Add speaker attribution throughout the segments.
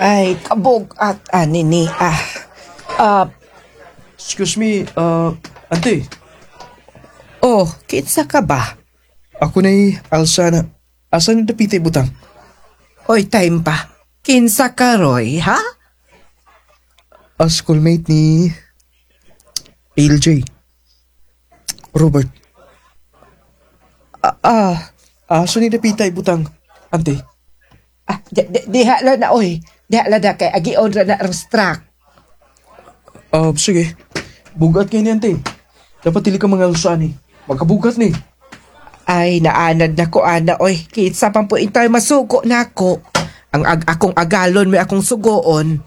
Speaker 1: Ay, kabog at ani ni ah. Ah,
Speaker 2: Excuse me, ante.
Speaker 1: Oh, kinsa ka ba?
Speaker 2: Ako na'y alsa na. Asa na dapita ibutang?
Speaker 1: Oy, time pa. Kinsa ka, Roy, ha?
Speaker 2: A schoolmate ni LJ. Robert. Ah, asa ni dapita ibutang, ante?
Speaker 1: Ah, diha lang na, oy. Diha lang na kay agion ra na ang truck.
Speaker 2: Ah, sige. Bugat kay ni ante. Dapat dili ka mga alsa ni. Magkabugat ni.
Speaker 1: Ay, naanad na ko, ana, oy. Kinsa pang po intay masugo na ako. Ang akong agalon may akong sugoon.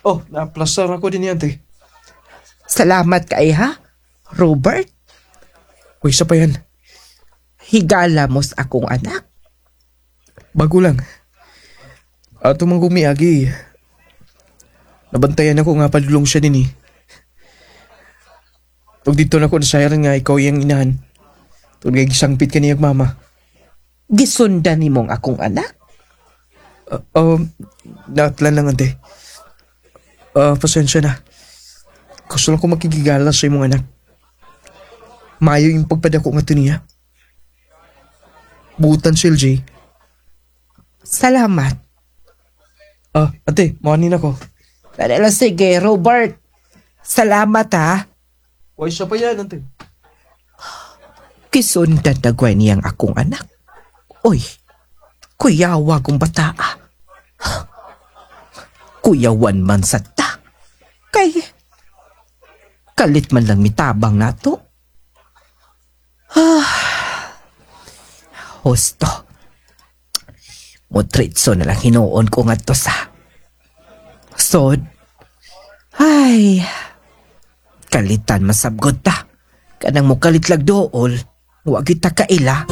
Speaker 2: Oh, na-plastar ako din ni ante.
Speaker 1: Salamat kay ha, Robert.
Speaker 2: Uy, isa pa yan.
Speaker 1: Higala mos akong anak.
Speaker 2: Bago lang. Ato mang gumiagi. Nabantayan ako nga padulong siya din eh. Tug dito na ko nasayaran nga ikaw iyang inahan. Tug nga gisangpit ka niyang mama.
Speaker 1: Gisundan nimong akong anak.
Speaker 2: Naatlan lang ante. Pasensya na. Gusto lang ko makigigala sa imong anak. Mayo yung pagpadako nga to niya. Butan si LJ.
Speaker 1: Salamat.
Speaker 2: Ah, ate, mawanin ako.
Speaker 1: Dali lang, sige, Robert. Salamat ha.
Speaker 2: Uy, isa pa yan, ante.
Speaker 1: Gisundan dagway niyang akong anak. Oy, kuyawa kong bataa. Kuyawan man sa ta. Kay, kalit man lang mitabang nato. Ah, husto. Mutritso na lang hinuon ko ngadto sa sod. Ay, kalitan masabgot ta. Kanang mukalitlag dool, wa kita kaila.